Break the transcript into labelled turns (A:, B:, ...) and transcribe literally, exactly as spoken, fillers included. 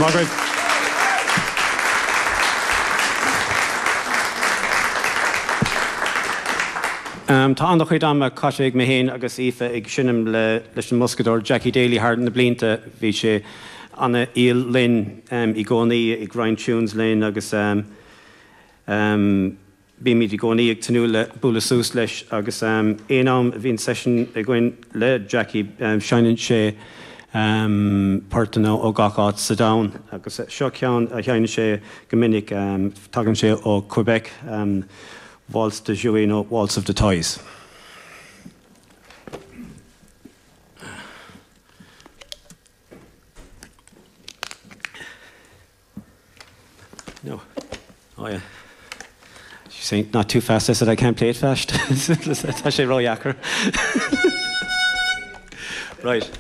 A: Margaret. Um, tá an-chuid ama caite ag mé féin agus Aoife ag seinm le, leis an mboscadóir Jackie Daly thar na blianta bhí sé an-fhial linn um, i gcónaí ag roinnt tunes linn agus um, um, bímid i gcónaí ag tnúth le bualadh suas leis agus um, aon am a bhíonn session againn le Jackie um, seinneann sé um, portanna ó gach áit sa domhan agus seo ceann a sheinneann sé go minic um, tagann sé ó Quebec um, Waltz de Jouets nó Waltz of the Toys. No. Oh yeah. She's saying not too fast. I said I can't play it fast. Tá sé ródheacair. Right.